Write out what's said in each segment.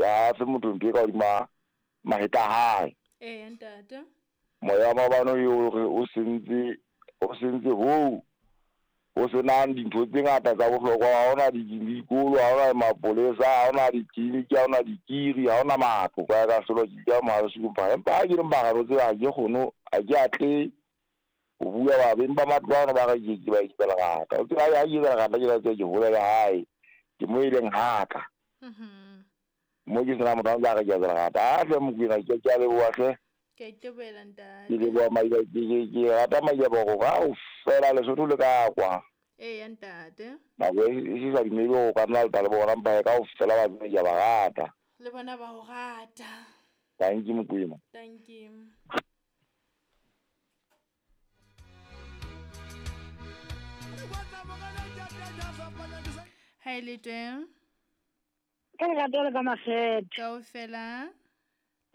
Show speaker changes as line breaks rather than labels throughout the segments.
a fe motho ntho e ka hodima mahetla a hae.
Eya ntate.
Moya wa maobane o re o sentse hoo ho senang dintho tse ngata tsa bohlokwa. Ha hona dikolo, ha hona mapolesa, ha hona ditleliniki, ha hona dikiri, ha hona matlo. Ka ka selo ke ka mohare sekumpa. Empa ha ke le mbara tsela ha ke kgone, ha ke atle ho bua ba beng ba matlo ana ba re ke ba etsa lerata. O tseba ha ke etsa lerata ke la tseba ke hole le hae. Ke mo e leng haka. Mo ke sena motho a ntse a re ke etsa lerata. A hle Mokwena ke a leboha hle.
Ke a itebohela ntate.
Ke leboha maila ke rata maila boroko ka o fela Lesotho le ka kwa.
Eya ntate.
Nako e se sa dumele go ka nna le bona mpa ka o fela ba tsebe ke a ba rata.
Le bona ba o rata.
Thank you Mokwena.
Thank you. Ha e le teng.
Ka lerato le ka makgethe.
Kaofela.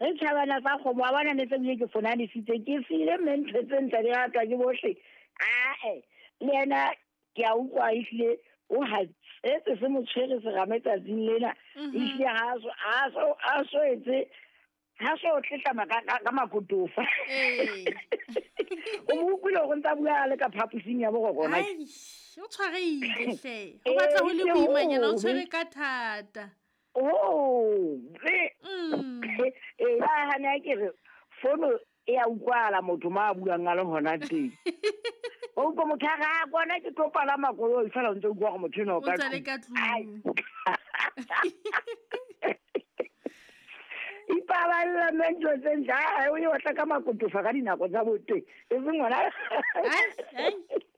Re tjhabana tsa kgomo wa bona ne tse bile ke fonanisitse ke file mme ntho tse ntle di ratwa ke bohle. Ae le yena ke a utlwa ehlile o hatsetse se mo tshwere serame tsatsing lena. Ehlile ha so etse ha so tletlama ka makotofa. O mo utlwile hore ntsa bua le ka phaposing ya boroko na.
Ai, o tshwareile hle. O batla ho le boimanyana o tshwere ka thata.
Oh, e ba hana ke re fono e a utlwala motho ma buang a le hona teng. O utlwa motho a re a kwana ke tlo palama koloi fela o ntse utlwa gore motho ena o ka
tlung.
Ipaballa mme ntho tse ntle ha o e otla ka makotofa ka dinako tsa boteng. E seng ngwana.
Ai,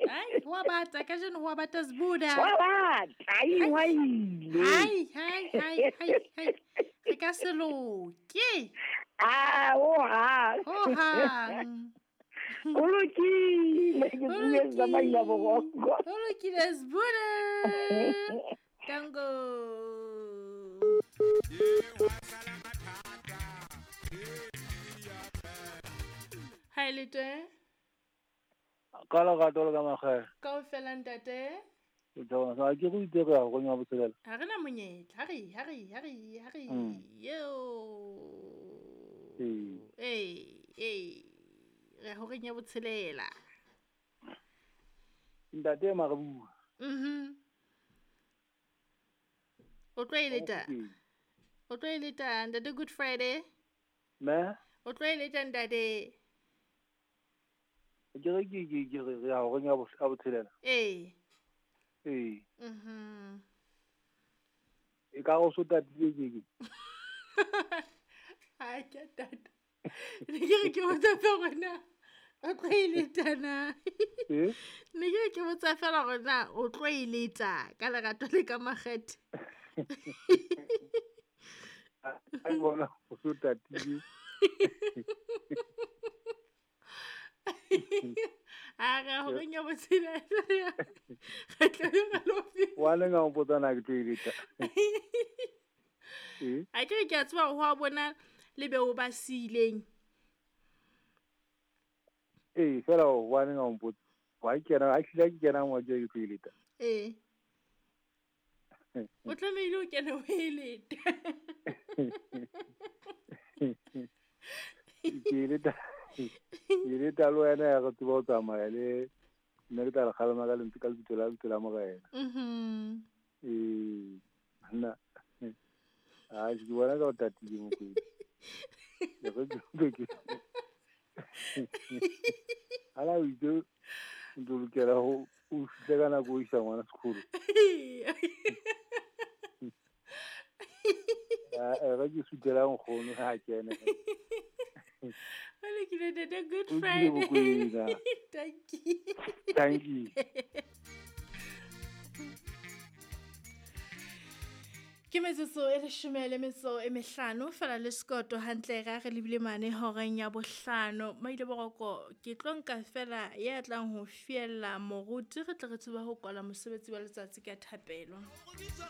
ai, wa bata kajeno wa bata Sbuda.
Wa bata, ai wa ile.
Ai, ai, ai, ai, ai. Re ka se loke.
Ah, o ha.
O hang.
O lokile, ke bue tsa maila boroko.
O lokile Sbuda. Tango. Ha le teng?
Ka lerato le ka makgethe.
Kaofela ntate.
Ke thabela ke go itse go ya go nya botshelela.
Ha re na monyetla, ha re. Yo. Ee, re ho re nya botshelela.
Ntate ma re bua.
O tlo e leta. O tlo e leta ntate Good Friday.
Me?
O tlo e leta ntate.
Ke re ke re ya go nya botshelela.
Ee.
Ee. E ka go so tatile ke.
Ha ke tata. Ne ke re ke botsa fela gore na o tlo e leta na.
Eh?
Ne ke re ke botsa fela gore na o tlo e leta ka lerato le ka makgethe.
Ai bona o so tatile.
A re go nya botshelela. Re tla be re lo fihla.
Wa le nga o mpotsa na ke tlo e leta.
A ke re ke a tseba ho a bona le be o ba siileng.
Ee, fela wa ne nga mpotsa. Wa kena, a hlile ke kena mo ke tlo e leta.
Ee. O tlamehile o kene o e leta.
Ke leta. Ke leta le wena ya re tseba ho tsamaya le nne ke tla le kgalema ka lentswe ka lebitso la lebitso la Morena. Ee, nna. A ke bona ka o tatile Mokwena. Ke re ke. Ala o itse ntlo lokela ho o fihle ka nako o isa ngwana sekolo. A re ke sutela nkgono ha kene.
O lokile ntate Good Friday. Thank you.
Thank you.
Ke metsotso e 15 fela le sekoto hantle ra re lebile mane horeng ya 5. Maile boroko ke tlo nka fela ya tlang ho fiella moruti re tle re tsebe ho kwala mosebetsi wa letsatsi ka thapelo.